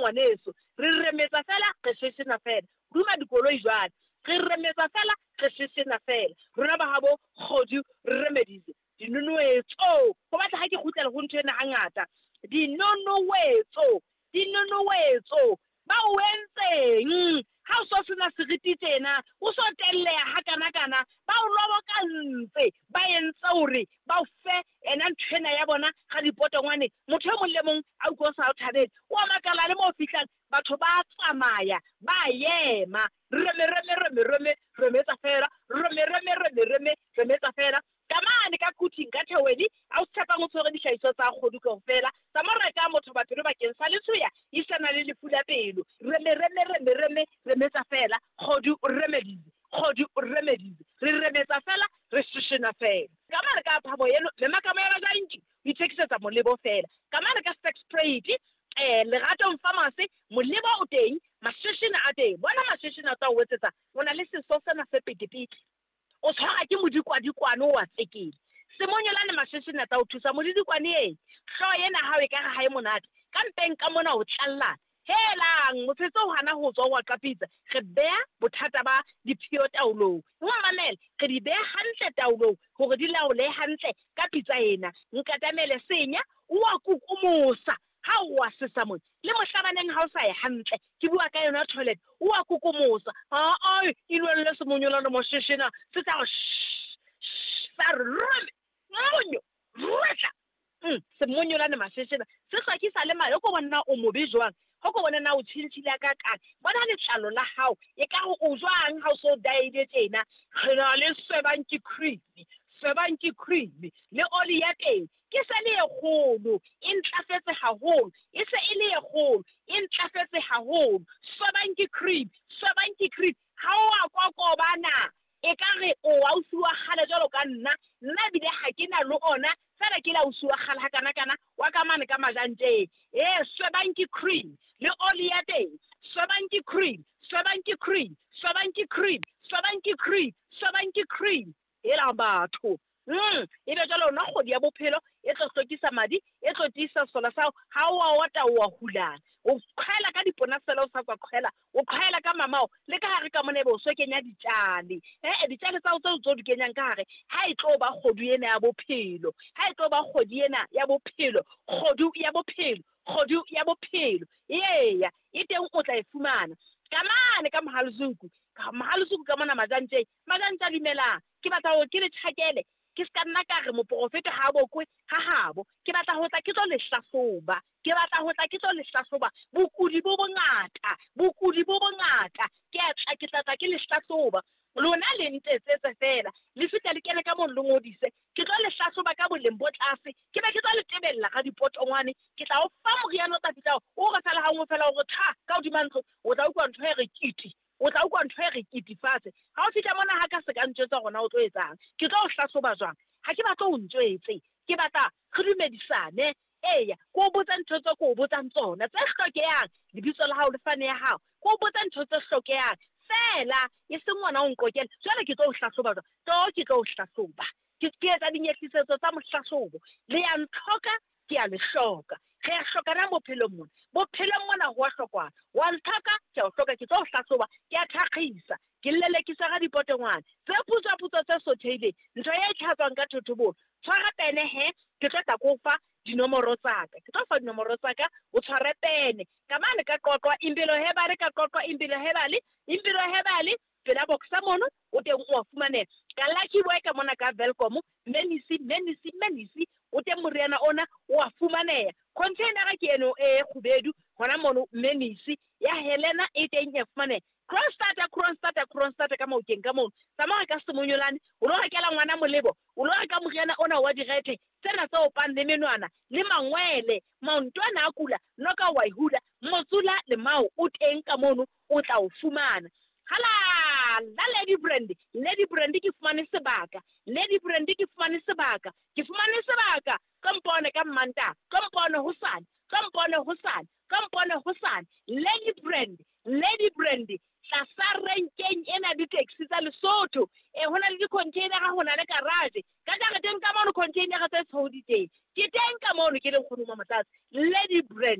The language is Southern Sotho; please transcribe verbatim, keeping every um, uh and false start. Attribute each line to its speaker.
Speaker 1: ngwaneso. Re remetsa fela, re sheshena fela. Duma dikoloi jwale. Re remetsa fela, re sheshena fela. Rona ba habo Kgodu Remedies. Dinonoetso. Ho batla ha ke kgutlela ho ntho ena hangata. Dinonoetso. Dinonoetso. Ba o entseng? Ha o so sena seriti tjena, o so telleha hakana-kana, ba o lobokantse, ba entse hore ba o fe ena ntho ena ya bona ga dipotongwane. Motho e mong le mong a utlwa o sa o thabele. O a makala le mo o fihlang, batho ba tsamaya, ba ema. Reme, reme, reme, reme, remetsa fela. Reme, reme, reme, reme, remetsa fela. Ka mane ka Quthing ka Theweni, a o tshepang o tshwere dihlahiswa tsa Kgodu kaofela. Tsa mo reka motho ba pelo bakeng sa letshoya, isana le lefu la pelo. Reme, reme, reme, reme, remetsa fela. Kgodu Remedies, Kgodu Remedies. Re remetsa fela, re sheshena fela. Ka mane ka phabo eno, le makamo ya bajanki, o ithekisetsa molebo fela. Ka mane ka Sex Trade, eh, Leratong Pharmacy, molebo o teng, masheshena a teng. Bona masheshena a tla o etsetsa, o na le seso sena se petepete. O tshwara ke modikwadikwane o wa tsekele. Semonyolane masheshena tla o thusa modikwane e. Hlooho ena hao e ka re ha e monate. Ka mpeng ka mona o tlallana. Helang, motshetse o hana ho tswa wa qapitsa. Re beha bothata ba diphio taolong. O mamele, re di beha hantle taolong hore di laole hantle ka pitsa ena. Nkatamele senya, o wa kukumosa. Ha o wa sesa mona. Le mohlabaneng ha o sa ye hantle. Ke bua ka yona toilet. O wa kukumosa. Ha ai, inwelle semonyolane mosheshena. Se tla re shh, shh, sa re rome, monyo, rwetla. Mm, semonyolane masheshena. Se hlwekisa le madi. O ko bona o mobe jwang. Ho ko bona na o tshintshile ka kang. Bona letlalo la hao. E ka re o jwang ha o so diet tjena. Re na le swebanki cream. Swebanki cream. Le oli ya teng. Ke se le e kgolo, e ntlafetse haholo. E se e le e kgolo, e ntlafetse haholo. Swebanki cream, swebanki cream. Ha o a kokobana, e ka re o ausi wa kgale jwalo ka nna. Nna ebile ha ke na le ona, feela ke le ausi wa kgale hakana-kana, wa ka mane ka majanteng. Eh, swebanki cream le oli ya teng. Swebanki cream, swebanki cream, swebanki cream, swebanki cream, swebanki cream. Hela batho. Mm, ebe jwale ona kgwedi ya bophelo e tlo hlwekisa madi, e tlo tiisa sesola sa hao. Ha o a ota o a hulana. O qhwela ka dipona fela o sa tswa qhwela, o qhwela ka mamao, le ka hare ka mona ebe o so kenya ditjale. Eh, ditjale tsa hao tseo tso di kenyang ka hare, ha e tlo ba kgodu ena ya bophelo. Ha e tlo ba kgwedi ena ya bophelo, kgodu ya bophelo, kgodu ya bophelo. Eya, e teng o tla e fumana. Ka mane ka Mohalezuku, ka Mohalezuku ka mona Majantjeng, Majantja dumelang. Ke batla hore ke le tjhakele. Ke ska nna ka re moporofeta ha bokwe ha habo. Ke batla ho tla ke tlo le hlahloba. Ke batla ho tla ke tlo le hlahloba. Bokudi bo bongata, bokudi bo bongata. Ke a tla, ke tla tla ke le hlahloba. Lona le ntetsetse fela. Le fihla le kene ka mono le ngodise. Ke tlo le hlahloba ka boleng bo tlase. Ke be ke tlo le tebella ga dipotongwane. Ke tla o fa moriana o tla fihla o re fela ha nngwe fela o re tha ka hodima ntlo. O tla utlwa ntho e re kiti. O tla utlwa ntho e re kiti fatshe. Ha o fihla mona ha ka se ka ntjwetsa hore na o tlo etsang. Ke tlo o hlahloba jwang? Ha ke batle o ntjwetse. Ke batla re dumedisane. Eya, ke o botsa ntho tse ke o botsang tsona tse hlokehang. Lebitso la hao le fane ya hao. Ke o botsa ntho tse hlokehang. Fela, e seng ngwana o nqokele. Jwale ke tlo o hlahloba jwang? Tlo ke tlo o hlahloba. Ke ke etsa dinyehlisetso tsa mohlahlobo. Le ya ntlhoka, ke a le hloka. Re a hlokana bophelong mona. Bophelong mona ho a hlokwana. Wa ntlhoka, ke a o hloka, ke tlo o hlahloba, ke a thakgisa. Ke lelekisa ga dipotongwane. Tse putswa-putswa tse sothehileng. Ntho e tlhatswang ka thotobolo. Tshwara pene he, ke tlo tla ko fa dinomoro tsa ka. Ke tlo fa dinomoro tsa ka, o tshware pene. Ka mane ka Qoqwa, Impilo Hebale, ka Qoqwa, Impilo Hebale, Impilo Hebale, pela boxa mono, o teng o a fumaneha. Ka Lucky Boy ka mona ka Welkom, Menisi, Menisi, Menisi, o teng moriana ona o a fumaneha. Container ke eno e kgubedu hona mono Menisi ya Helena e teng e fumaneha. Kronstadter, Kronstadter, Kronstadter ka maokeng ka mono. Tsamaya ka semonyolane, o lo rekela ngwana molebo, o lo reka moriana ona wa direthe, tsena tse opang le menwana, le mangwele, maontwana a kula, noka wa e hula, motsula le mao o teng ka mono, o tla o fumana. Hala, la Lady Brand, Lady Brand ke fumane sebaka, Lady Brand ke fumane sebaka, ke fumane sebaka, ka mpone ka Mmantaha, ka mpone hosane, ka mpone hosane, ka mpone hosane. Lady Brand, Lady Brand, tlasa renkeng ena di-taxi tsa Lesotho. Eh, ho na le di-container-a, ho na le garage. Ka jareteng ka mono container-a tse tshweu di teng. Ke teng ka mono ke le nkgono wa Motlatsi. Lady Brand.